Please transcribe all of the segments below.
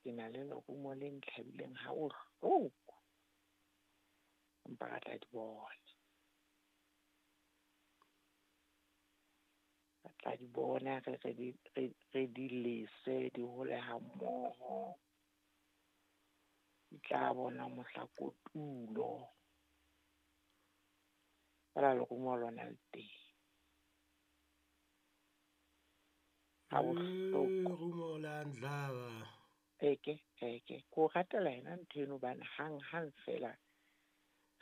Ke na le lerumo le ntlhabileng ha bohloko. Empa re tla di bona. Re tla di bona re di lese di hole ha mmoho. Di tla bona mohla kotulo. Fela lerumo lona le teng. Ha bohloko. Lerumo la ntlhaba. Eke, eke. Ke o ratela yena ntho eno hobane hang-hang fela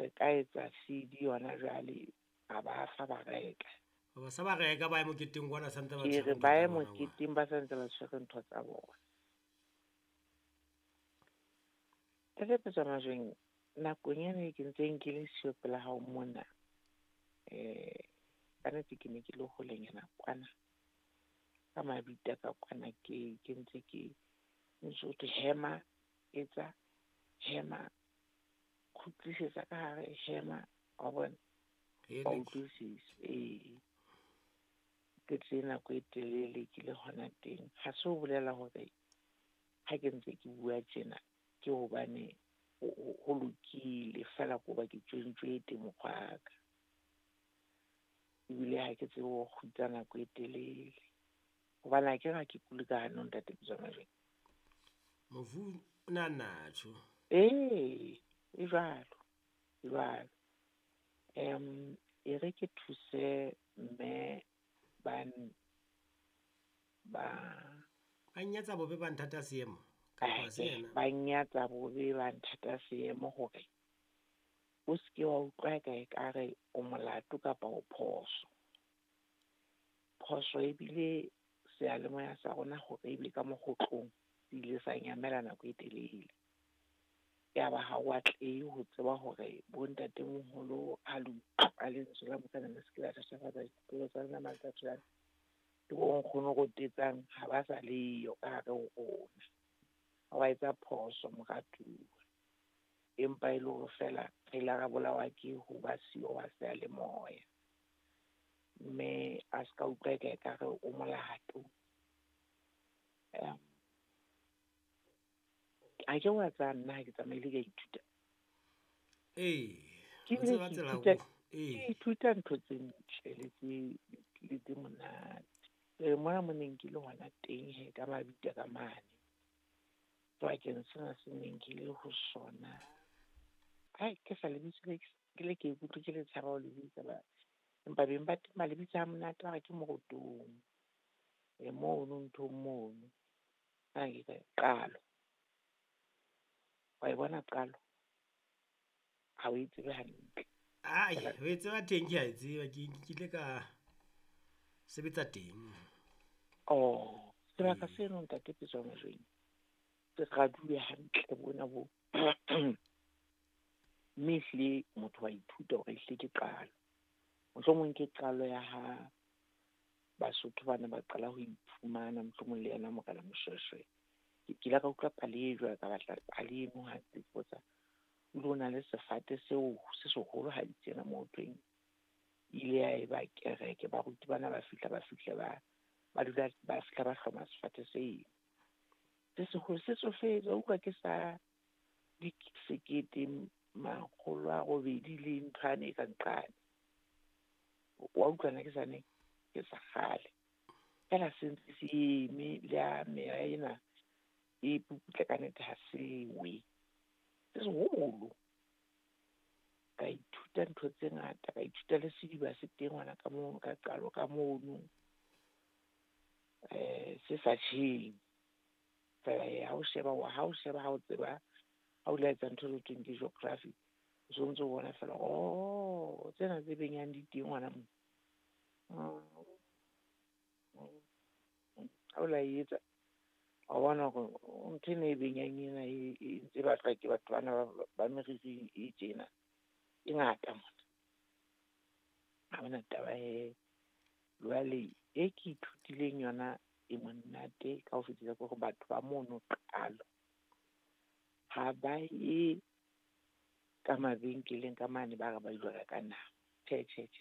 re ka etsa CD yona jwale a ba fa ba reka. Ba sa ba reka ba ye moketeng kwana santse ba Ke tshwere re ntho ba tsa ye bona kwana. moketeng ba santse ba tshwere ntho tsa bona. Ntate Petso Majweng, nakong ena e ke ntseng ke le siyo pela hao mona, ka nnete ke ne ke le holenyana kwana. Ka mabitla ka kwana ke ntse ke ntse ho thwe hema, etsa, hema, kgutlisetsa ka hare, hema, wa bona. Wa utlwisisa, ee. Ke tlile nako e telele ke le hona teng. Ha se ho bolela hore ha ke ntse ke bua tjena ke hobane ho lokile fela ko ba ke tjwentjwete mokgwa ka. Ebile ha ke tsebe ho kgutsa nako e telele. Hobane ha ke re ha ke kule ka hanong ntate Petso Majweng. Mofu o na natjho. Ee, e jwalo, e jwalo. E re ke thuse mme ba Ba nyatsa bobe ba nthata seemo. Kapa se yena? Ba nyatsa bobe ba nthata seemo hore o seke wa utlwa ka ekare o molato kapa o phoso. Phoso ebile seyalemoya sa rona hore ebe ka mokgotlong se ile sa nyamela nako e telele. Ya ba ha o atlehe ho tseba hore bo ntatemoholo ha le utlwa lentswe la Morena le se ke la thatafatsa dipelo tsa lona matsatsi ana. Le bo nkgono rotetsang ha ba sa leyo ka hare ho rona. Ha wa etsa phoso moratuwa. Empa e le hore fela re ile ra bolawa ke ho ba siyo wa seyalemoya. Mme a ska utlwa eka ekare o molato. Ha ke wa tsaya nna ha ke tsamaile ke a ithuta. Ee, Ke o bile tseba ke tsela ithuta, ho, ee. ke ithuta ntho tse ntle le tse monate. Mona mo neng ke le hona teng he ka mabitla ka mane. Sebakeng sena se neng ke le ho sona. Ai, ke sa lebitso le ke le ke ikutlwe ke le tshaba ho le bitsa ba. Empa beng ba teng ba le bitsa ha monate ba re ke morotong. Mono nthong mono. Ha ke ka qalo. Wa e bona qalo? Ha o e tsebe hantle. Ai, ho e tseba teng ke a e tseba, ke ile ka sebetsa teng. Oh, sebaka seno ntate Petso Majweng. Se raduwe hantle bona bo. Mme ehlile motho wa ithuta hore ehlile ke qalo. Mohlomong ke qalo ya ha Basotho bana ba qala ho iphumana, mohlomong le yena Morena Moshoeshoe. Ke ile ka utlwa pale e jwalo, ka batla pale eno ha ke botsa. O ile o na le sefate seo se seholo ha di tsena moo thweng. Ile ya eba kereke, baruti bana ba fihla, ba fihla ba, ba dula, ba fihla ba hloma sefate seo. Se seholo se tsofetse, wa utlwa ke sa sekete makgolo a robedi le nthwane e ka nqane. Wa utlwa na ke sa neng? Ke sa kgale. Fela se ntse se eme le ha meya ena e puputla ka nnete ha se we. Se seholo. Ka ithuta ntho tse ngata, ka ithuta le sediba se teng hona ka mono, ka qalo ka mono. Se sa tjheng. Fela ha o sheba, ha o sheba, ha o tseba, ha o la etsa ntho e thweng ke geography, o so ntso bona fela, oh, tsena tse benyang di teng hona moo. Ha o la etsa, wa bona hore ntho ena e benyang ena e ntse batlwa ke batho bana ba meriri e tjena, e ngata mona. Ha hona taba he. Jwale e ke ithutileng yona e monate ka ho fetisa ke hore batho ba mono qalo ha ba ye ka mabenkeleng ka mane ba re ba ilo reka nama. Tjhe, tjhe, tjhe.